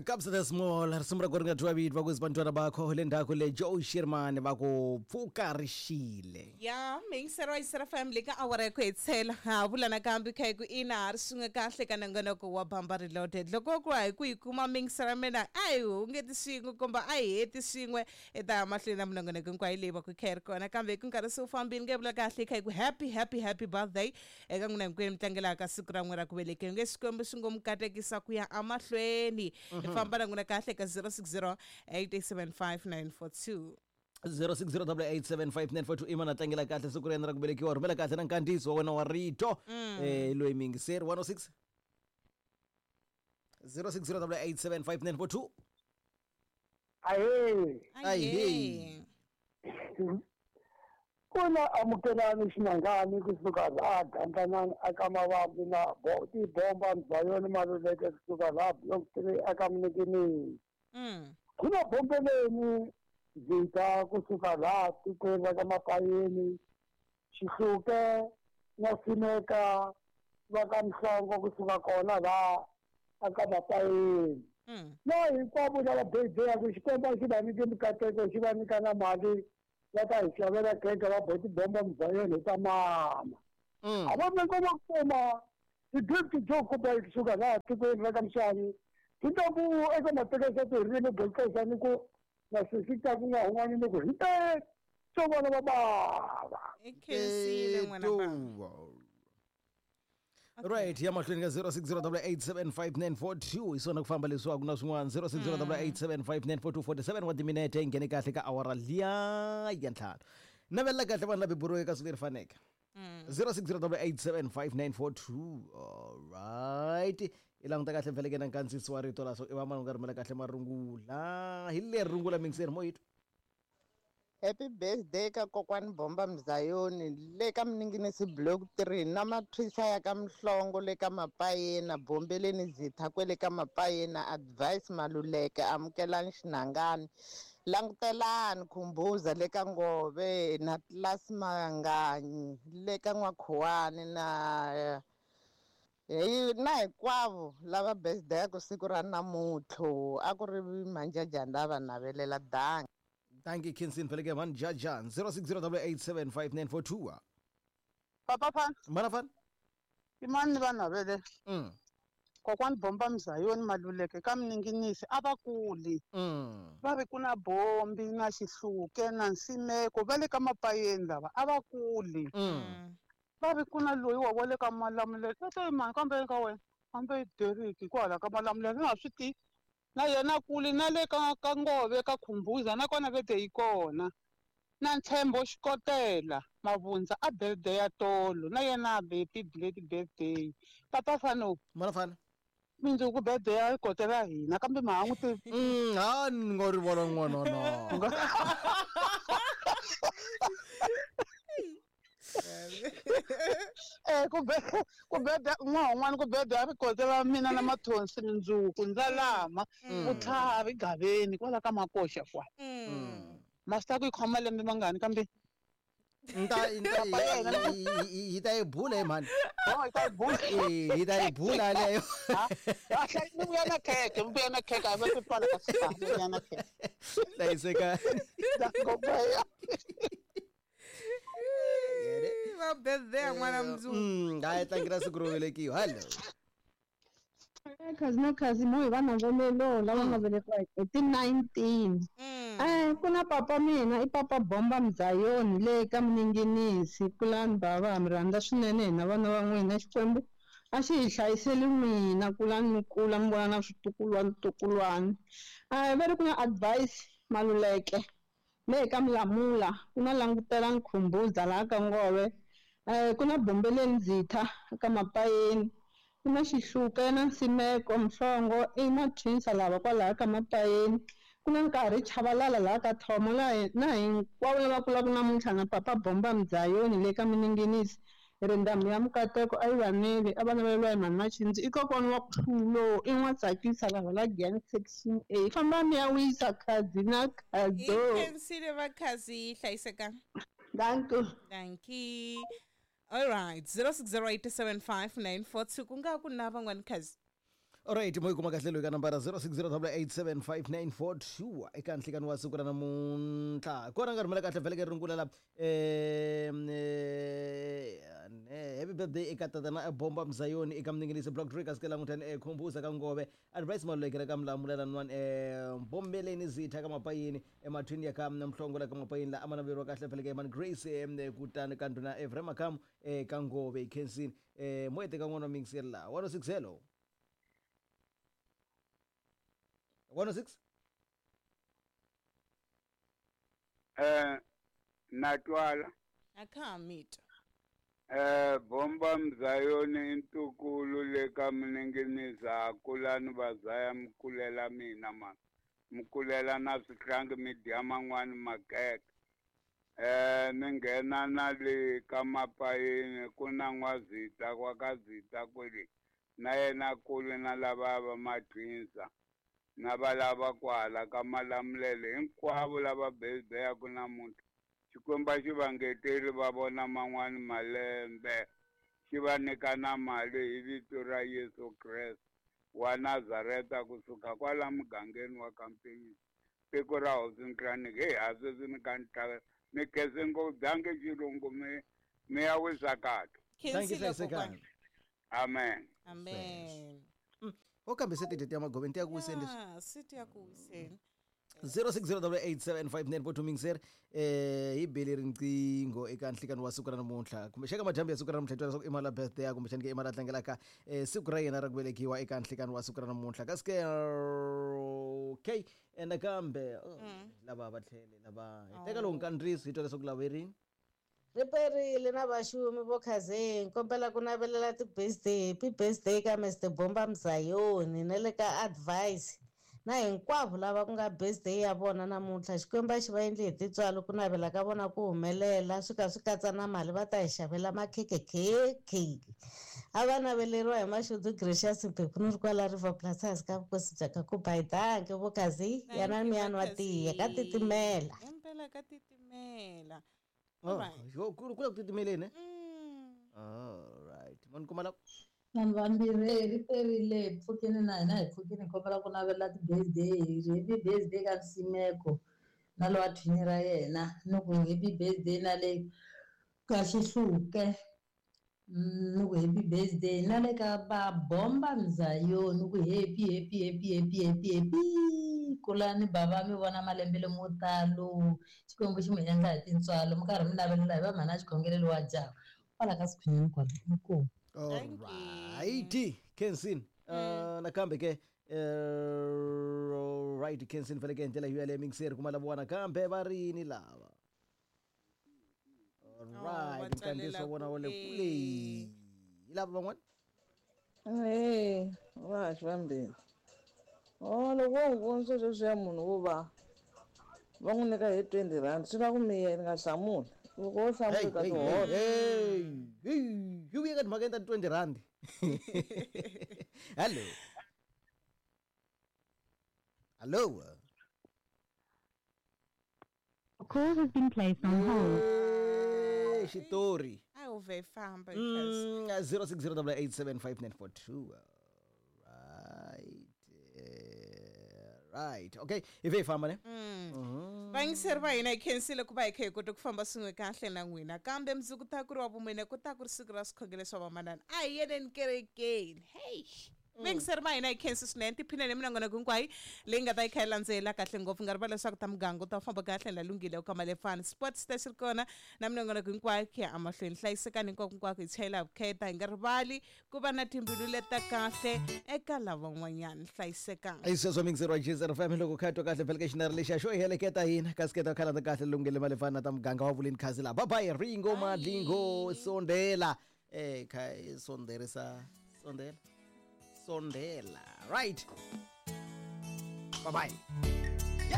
Kabza De Small risimu ra ku ri nga twiwa vito va ku bantwana bakho le ndzhaku le Joe Sherman va ku pfuka ri xile. Ya miyingiseri wa Yisera FM le ka awara ya ku hetisela ha vula nakambe kha hi ku ina ha ri swin'we kahle ka nongonoko wa Bamba Reloaded. Loko ku hi ku yi kuma miyingiseri ya mina a hi hungeti swin'we kumbe a hi heti swin'we i ta ya mahlweni na minongonoko hinkwayo leyi va ku kha yi ri kona kambe hi ku nkarhi se wu fambile nge vula kahle kha hi ku happy happy happy birthday eka n'wina hinkwenu mi tlangelaka siku ra n'wina ra ku velekiwa nge Xikwembu xi ngo mi katekisa ku ya emahlweni hi famba na n'wina kahle ka 060 875 942. 0608875942 i mana tlangela kahle siku ra yena ra ku velekiwa rhumela kahle na nkandziyiso wa wena wa rito loyi miyingiseri 106 0608875942. Ahee. Ahee. Kuna amukelani xinangani kusuka laha Gandlanani aka Mavambi na tibomba Mzayoni Maluleke kusuka laha Block 3 aka Mnikinini. Kuna bombeleni Zita kusuka laha tikweni ra ka Mapayeni, Xihluke na Simeka va ka Mhlongo kusuka kona laha aka Mapayeni. Na hinkwavo lava birthday Xikwembu a xi va nyike mikateko xi va nyika na mali va ta hi xavela khekhe va bo tibomba Mzayoni hi ta mama. A va nyika va kuma ti-gift to kupa kusuka laha tikweni ra ka Mswani ti ta ku eka matekesa ti ririmi bokisa ni ku na sesi ta ku nga hun'wani ni ku hi te swo vona va bava. I khensile n'wana bava. Right, ya mahlweni ka 0608875942 hi swona ku famba leswaku na swin'wana 0608875942 47 wa timinete yi nghene kahle ka awara liya ya ntlhanu. Navelela kahle vanhu lava beburiweke ka siku leri faneke. 0608875942. Alright, i languta kahle mfeleke na nkandziyiso wa rito la so i va mani u nga rhumela kahle marungula hi leri rungula mingiseri moyito. Happy birthday ka kokwani Bomba Mzayoni le ka Mninginisi Block 3 na mathwisa ya ka Mhlongo le ka Mapayena Bombeleni Zitha kwele ka Mapayena Advice Maluleke amukelani Xinangani langutelani Khumbuza le ka Ngove na Class Manganyi le ka N'wakhuwani na hi na hinkwavo lava birthday ku siku ra namuntlha a ku ri manjajani lava navelela dangi. Thank you, Kinsin Feleke Van Jajan 0608875942. Papa Fan. Mana Fan. Imani va navele. Kokwani Bomba Mzayoni Maluleke ka Mninginisi a va kuli. Va ri ku na Bombi na Xihluke na Nsimeko va le ka Mapayeni lava a va kuli. Va ri ku na loyi wa le ka Malamulele. I mani kambe ka wena? Kambe Derek kwala ka Malamulele nga swi tivi. Na yena kuli na le ka Ngove ka Khumbuza na kona vete yi kona. Na Ntshembo Xikotela Mavundza a birthday ya tolo na yena happy birthday. Papa Fano. Mana Fano. Mindzuku birthday ya kotela hina kambe ma n'wi tivi. Ha ni ngo ri vona n'wana na. Ku birthday n'wana ku birthday ya kotela mina na Mathonsi mindzuku Ndzalama vutlhari Gaveni kwala ka Makoxa kwa. Master ku yi khoma lembe mangani kambe hi ta yi bula hi mhani. Oh, hi ta yi bula. Hi ta yi bula leyo. Mi vuya na khekhe, mi vuya na khekhe, a va swi pfala ka swi mi vuya na khekhe. Hlayiseka. Va birthday n'wana mundzuku. A hi tlangela siku ro velekiwa. Hello. Khazi na khazi mo hi va navelelo lava nga velekiwa hi ti 19. Ku na papa mina i papa Bomba Mzayoni le ka Mninginisi kulani bava mi rhandza swinene hina vana va n'wina Xikwembu a xi hi hlayiseli n'wina kulani mi kula mi vona na switukulwana tukulwana. Va ri ku na Advice Maluleke le ka Mlamula ku na Langutelani Khumbuza laha ka Ngove ku na Bombeleni Zitha ka Mapayeni ku na Xihluke na Nsimeko Mhlongo i matwinsa lava kwalaha ka Mapayeni ku na Nkarhi Chavalala laha ka Thomo na hinkwavo lava kulaka namuntlha na papa Bomba Mzayoni le ka Mninginisi rindhamu ya Mukateko a yi vaneli a va naveleriwa hi mhani Machindzi i kokwana wa Khulo i n'wa tsakisa lava la Giyani section A famba mi ya wisa khazi na khazo. I khensile va khazi hlayiseka. Thank you. Thank you. All right, 06087594 ku nga ku na van'wani khazi. Alright, mo yi kuma kahle loyi ka nambara 0608875942 eka nhlikani wa siku ra namuntlha. Kona nga rhumela kahle vhele ke rungula la happy birthday eka tatana Bomba Mzayoni eka Mninginisi Block 3 kasi ke langutani Khumbuza ka Ngove Advice Malulekela ka Mlamulela nwan Bombeleni Zitha ka Mapayini emathwini ya ka Mhlongo la ka Mapayini la amanaveriwa kahle vhele ke Man Grace kutani ka ndhuna Ephraim Makamu ka Ngove Khensini mo ete ka n'wana wa mingiseri la 106. Hello, 106. Natwala akhamita. Bomba Mzayoni intukulu le ka Mninginisa kulani vazaya mkulela mina ma mkulela na swihlangi mi dya man'wani makeke. Ni nghena na le ka Mapayini ku na N'wazita kwa ka Zita kwele na yena kule na lava va matwinsa na va lava kwala ka Malamulele hinkwavo lava bebeyaku namuntlha. Xikwembu xi va ngeteli va vona man'wani malembe, xi va nyika na mali hi vito ra Yesu Kreste wa Nazareta kusuka kwala mugangeni wa Kampeni tiko ra Hosi Nhlaniki. Heyi a sweswi ni ka ni mi khense ngopfu byange xilungu mi ya wisa kahle. Thank you, hlayisekani. Amen. Amen. O kambe se tidate ya magoveni ti ya ku wiseni leswi. Se ti ya ku wiseni. 0608875942 mingiseri hi bele riqingho eka nhlikani wa siku ra namuntlha kumbe xaka madyambu ya siku ra namuntlha hi twa leswaku i mali ya birthday ya kumbexani ke i mali a tlangelaka siku ra yena ra ku velekiwa eka nhlikani wa siku ra namuntlha. Kasi ke okay nakambe lava va tlhele lava hi teka lowu nkandziyiso hi twa leswaku lava rini. Ri perile na vaxumi vo Khazeni, kombela ku navelela ti-birthday, happy birthday ka Mr Bomba Mzayoni na le ka Advice na hinkwavo lava ku nga birthday ya vona namuntlha. Xikwembu a xi va endli hi tintswalo ku navela ka vona ku humelela, swi ka swi katsa na mali va ta hi xavela makhekhekhekhe. A va naveleriwa hi Mashudu Gracious Mphephu ni ri kwala River Plaza ka vukosi bya ka Kubai. Danke vo Khazi, yana miyani wa tiya ka titimela. Impela ka titimela. Oh, ku la ku titimeleni. All right. Mani kuma la Vanhu vambirhi ri perile hi pfukini na hina hi pfukini hi kombela ku navela ti-birthday, happy birthday ka Nsimeko na lowa thwini ra yena, ni ku happy birthday na le ka Xihluke, ni ku happy birthday na le ka va Bomba Mzayoni, ni ku happy happy happy happy happy happy kulani bava mi vona malembe lamo talo, Xikwembu xi mi endla hi tintswalo mi karhi mi navelela hi va mhana xikhongelelo wa jaha kwala ka Sikhwinyani kwala. Inkomu. Alright, Kensin. Nakambe ke right Kensin vele ke ndlela yaleyo mingiseri kuma lava nakambe va rini lava. Alright, nkandziyiso wona wa le kule. Hi lava van'wana? Va xivambirhi. Loko wo n'wi vonisa sweswiya munhu wo va va n'wi nyika hi 20 rand swi la ku miyela nga hlamuli. Loko wo hlamula ka tihola. Yi vuye ka timhaka ta 20 rand. Hello. Hello. Call has been placed on hold. Xitori. A wu vhe famba. 0608875942. Right. Right. Okay. Hi vhe hi famba ne? Vayingiseri va hina hi khensile ku va hi kha hi kota ku famba swin'we kahle na n'wina, kambe mundzuku ta ku ri wa vumune ku ta ku ri siku ra swikhongelo swa vamanana. A hi yeneni kerekeni. Hey. Vayingiseri va hina hi khensi swinene, tiphinene minongonoko hinkwayo leyi nga ta yi kha yi landzela kahle ngopfu. Nga rivali leswaku ta muganga u ta famba kahle na Lunghile u ka Malefani Sports ta xi ri kona na minongonoko hinkwayo ku ya emahlweni. Hlayisekani hinkwako hinkwako, hi chayela vukheta, hi nga rivali ku va na timbilu leta kahle eka lavan'wanyana. Hlayisekani. I sweswo mingiseri wa GZR FM loko kha twa kahle phela ka xinari lexiya xo heleketa hina kasi ke ta khalanda kahle Lunghile Malefani na ta muganga wa vuleni khazi la. Bye bye Ringo Madlingo sondela kha sonderisa sondela sondela. Right. Bye bye.